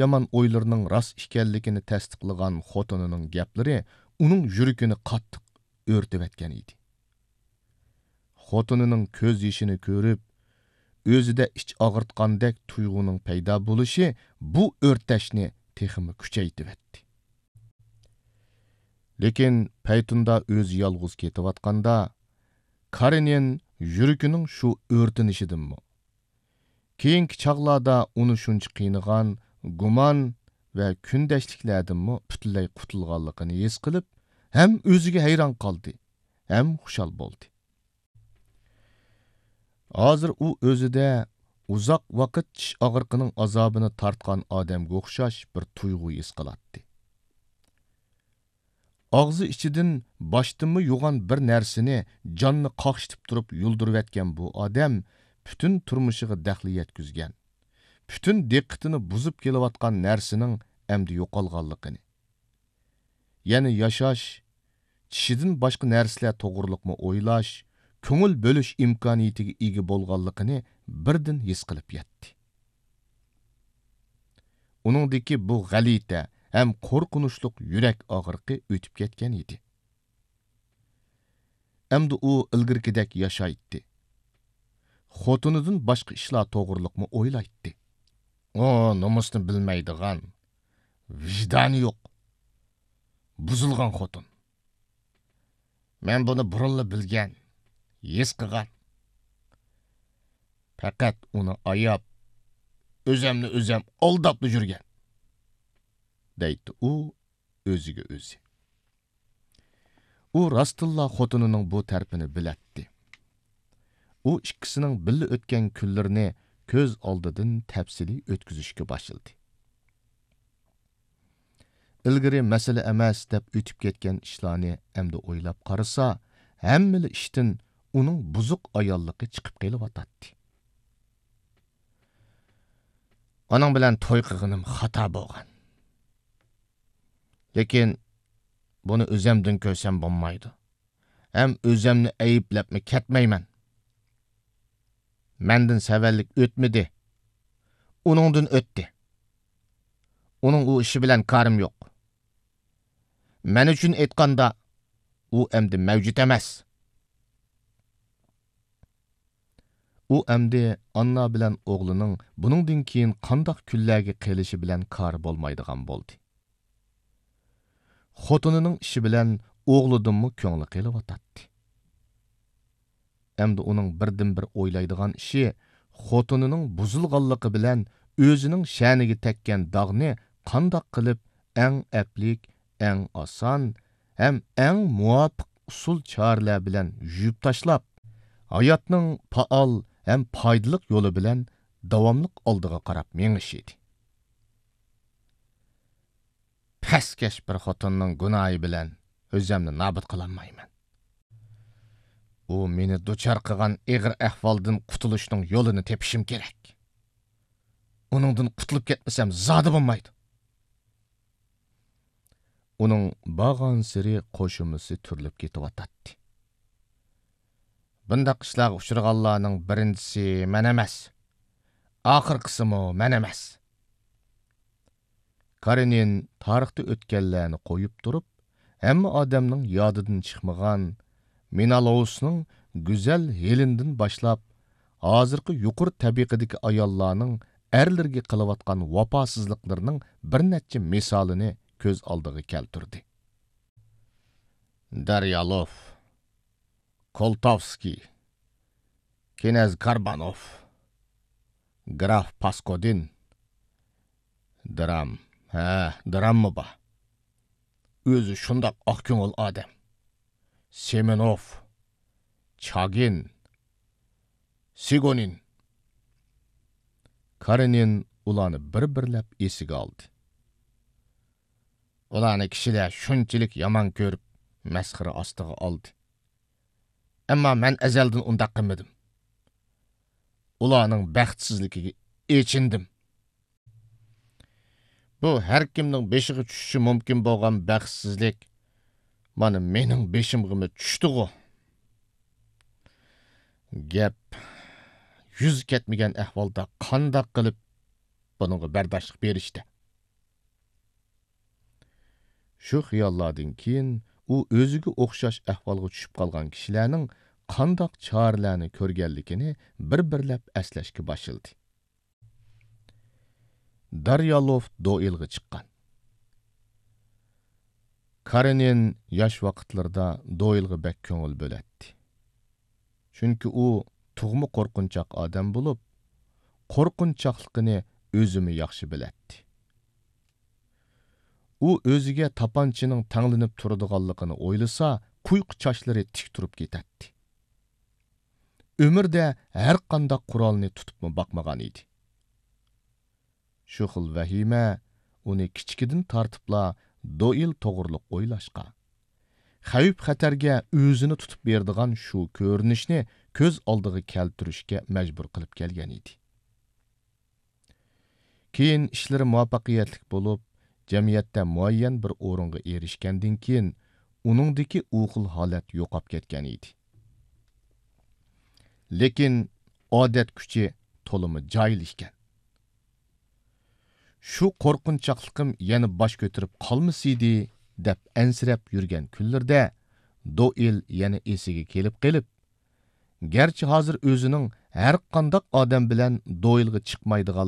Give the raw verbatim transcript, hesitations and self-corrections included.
يامان ئويلىرىنىڭ راست ئىكەنلىكىنى تەستىقلىغان خوتۇنىنىڭ گەپلىرى ئۇنىڭ يۈرىكىنى قاتتىق ئۆرتىۋەتكەن ئىدى. خوتۇنىنىڭ كۆز يېشىنى كۆرۈپ، ئۆزىدە ئىچ ئاغرىتقاندەك تۇيغۇنىڭ پەيدا بولۇشى بۇ ئۆرتەشنى تېخىمۇ كۈچەيتىۋەتتى. لېكىن پەيتۇندا ئۆزى يالغۇز كېتىۋاتقاندا، كارېنىن يۈرىكىنىڭ شۇ ئۆرتىنىشىدىنمۇ، كېيىنكى چاغلاردا ئۇنى شۇنچە قىينىغان گۇمان ۋە كۈندەشلىكلەردىنمۇ پۈتۈنلەي قۇتۇلغانلىقىنى ھېس قىلىپ، ھەم ئۆزىگە ھەيران قالدى، ھەم خۇشال بولدى. ھازىر ئۇ ئۆزىدە ئۇزاق ۋاقىت چىش ئاغرىقىنىڭ ئازابىنى تارتقان ئادەمگە ئوخشاش بىر تۇيغۇ ھېس قىلاتتى. ئاغزى ئىچىدىن باشتىنمۇ يوغان بىر نەرسىنى جاننى قاقشىتىپ تۇرۇپ يۇلدۇرۇۋەتكەن بۇ ئادەم پۈتۈن تۇرمۇشىغا دەخلى يەتكۈزگەن، پۈتۈن دىققىتىنى بۇزۇپ كېلىۋاتقان نەرسىنىڭ ئەمدى يوقالغانلىقىنى، يەنە ياشاش، چىشىدىن باشقا نەرسىلەر توغرۇلۇقمۇ ئويلاش، كۆڭۈل بۆلۈش ئىمكانىيىتىگە ئىگە بولغانلىقىنى بىردىن ھېس قىلىپ يەتتى. ئۇنىڭدىكى بۇ غەلىتە ھەم قورقۇنچلۇق يۈرەك ئاغرىقى ئۆتۈپ كەتكەن ئىدى. ئەمدى ئۇ ئىلگىرىكىدەك ياشايتتى. خوتۇنىدىن باشقا ئىشلار توغرۇلۇقمۇ ئويلايتتى. ئۇ نومۇسنى بىلمەيدىغان، ۋىجدانى يوق، بۇزۇلغان خوتۇن. مەن بۇنى بۇرۇنلا بىلگەن، ھېس قىلغان. پەقەت ئۇنى ئاياپ، ئۆزەمنى ئۆزەم ئالداپلا يۈرگەن، دەيتتى ئۇ ئۆزىگە ئۆزى. ئۇ راستتىنلا خوتۇنىنىڭ بۇ تەرىپىنى بىلەتتى. ئۇ ئىككىسىنىڭ بىللە ئۆتكەن كۈنلىرىنى كۆز ئالدىدىن تەپسىلىي ئۆتكۈزۈشكە باشلىدى. ئىلگىرى مەسىلە ئەمەس دەپ ئۆتۈپ كەتكەن ئىشلارنى ئەمدى ئويلاپ قارىسا، ھەممىلا ئىشتىن ئۇنىڭ بۇزۇق ئاياللىقى چىقىپ قېلىۋاتاتتى. ئاناڭ بىلەن توي قىلغىنىم خاتا بولغان. لېكىن بۇنى ئۆزەمدىن كۆرسەم بولمايدۇ. ھەم ئۆزەمنى ئەيىبلەپمۇ كەتمەيمەن. مەندىن سەۋەنلىك ئۆتمىدى. ئۇنىڭدىن ئۆتتى. ئۇنىڭ ئۇ ئىشى بىلەن كارىم يوق. مەن ئۈچۈن ئېيتقاندا، ئۇ ئەمدى مەۋجۇت ئەمەس. ئۇ ئەمدى ئاننا بىلەن ئوغلىنىڭ بۇنىڭدىن كېيىن قانداق كۈنلەرگە قېلىشى بىلەن كارى بولمايدىغان بولدى. خوتۇنىنىڭ ئىشى بىلەن ئوغلىدىنمۇ كۆڭلى قېلىۋاتاتتى. ئەمدى ئۇنىڭ بىردىنبىر ئويلايدىغان ئىشى خوتۇنىنىڭ بۇزۇلغانلىقى بىلەن ئۆزىنىڭ شەنىگە تەگكەن داغنى قانداق قىلىپ ئەڭ ئەپلىك، ئەڭ ئاسان ھەم ئەڭ مۇۋاپىق ئۇسۇل چارىلەر بىلەن يۇيۇپ تاشلاپ، ھاياتنىڭ پائال ھەم پايدىلىق يولى بىلەن داۋاملىق ئالدىغا قاراپ مېڭىش ئىدى. پەسكەش بىر خوتۇننىڭ گۇناھى بىلەن ئۆزەمنى نابۇت قىلالمايمەن. ئۇ مېنى دۇچار قىلغان ئېغىر ئەھۋالدىن قۇتۇلۇشنىڭ يولىنى تېپىشىم كېرەك. ئۇنىڭدىن قۇتۇلۇپ كەتمىسەم زادى بولمايدۇ. ئۇنىڭ بارغانسېرى قوشۇمىسى تۈرۈلۈپ كېتىۋاتاتتى. بۇنداق ئىشلارغا ئۇچرىغانلارنىڭ بىرىنچىسى مەن ئەمەس. ئاخىرقىسىمۇ مەن ئەمەس. كارېنىن تارىختا ئۆتكەنلەرنى قويۇپ تۇرۇپ، ھەممە ئادەمنىڭ يادىدىن چىقمىغان مېنالوۋسنىڭ گۈزەل ھېلېندىن باشلاپ، ھازىرقى يۇقىرى تەبىقىدىكى ئاياللارنىڭ ئەرلىرىگە قىلىۋاتقان ۋاپاسىزلىقلىرىنىڭ بىر نەچچە مىسالىنى كۆز ئالدىغا كەلتۈردى. دەريالوف، كولتوۋسكىي، كىنەز كاربانوف، گراف پاسكودىن، درام، ھە، دراممۇ بار. ئۆزى شۇنداق ئاق كۆڭۈل ئادەم. سېمېنوف، چاگىن، سېگونىن. كارېنىن ئۇلارنى بىر-بىرلەپ ئېسىگە ئالدى. ئۇلارنى كىشىلەر شۇنچىلىك يامان كۆرۈپ، مەسخىرە ئاستىغا ئالدى. ئەمما مەن ئەزەلدىن ئۇنداق قىلمىدىم. ئۇلارنىڭ بەختسىزلىكىگە ئېچىندىم. بۇ ھەر كىمنىڭ بېشىغا چۈشۈشى مۇمكىن بولغان بەختسىزلىك مانا مېنىڭ بېشىمغىمۇ چۈشتىغۇ. گەپ يۈز كەتمىگەن ئەھۋالدا قانداق قىلىپ بۇنىڭغا بەرداشلىق بېرىشتە؟ شۇ خىياللاردىن كېيىن ئۇ ئۆزىگە ئوخشاش ئەھۋالغا چۈشۈپ قالغان كىشىلەرنىڭ قانداق چارىلەرنى كۆرگەنلىكىنى بىر-بىرلەپ ئەسلەشكە باشلىدى. داريالوف دوئىلغا چىققان. كارېنىن ياش ۋاقىتلىرىدا دوئىلغا بەك كۆڭۈل بۆلەتتى. چۈنكى ئۇ تۇغما قورقۇنچاق ئادەم بولۇپ، قورقۇنچاقلىقىنى ئۆزىمۇ ياخشى بىلەتتى. ئۇ ئۆزىگە تاپانچىنىڭ تەڭلىنىپ تۇرىدىغانلىقىنى ئويلىسا، قۇيقۇ چاچلىرى تىك تۇرۇپ كېتەتتى. ئۆمرىدە ھەرقانداق قورالنى تۇتۇپمۇ باقمىغان ئىدى. شۇ خىل ۋەھىمە ئۇنى كىچىكىدىن تارتىپلا دوئىل توغرۇلۇق ئويلاشقا، خەۋپ-خەتەرگە ئۆزىنى تۇتۇپ بېرىدىغان شۇ كۆرۈنۈشنى كۆز ئالدىغا كەلتۈرۈشكە مەجبۇر قىلىپ كەلگەن ئىدى. كېيىن ئىشلىرى مۇۋەپپەقىيەتلىك بولۇپ، جەمئىيەتتە مۇئەييەن بىر ئورۇنغا ئېرىشكەندىن كېيىن، ئۇنىڭدىكى ئۇ خىل ھالەت يوقاپ كەتكەن ئىدى. لېكىن ئادەت كۈچى تولىمۇ جاھىل ئىكەن. شۇ قورقۇنچاقلىقىم يەنە باش كۆتۈرۈپ قالمىسىدى، دەپ ئەنسىرەپ يۈرگەن كۈنلىرىدە دوئىل يەنە ئېسىگە كېلىپ قېلىپ، گەرچە ھازىر ئۆزىنىڭ ھەرقانداق ئادەم بىلەن دوئىلغا چىقمايدىغان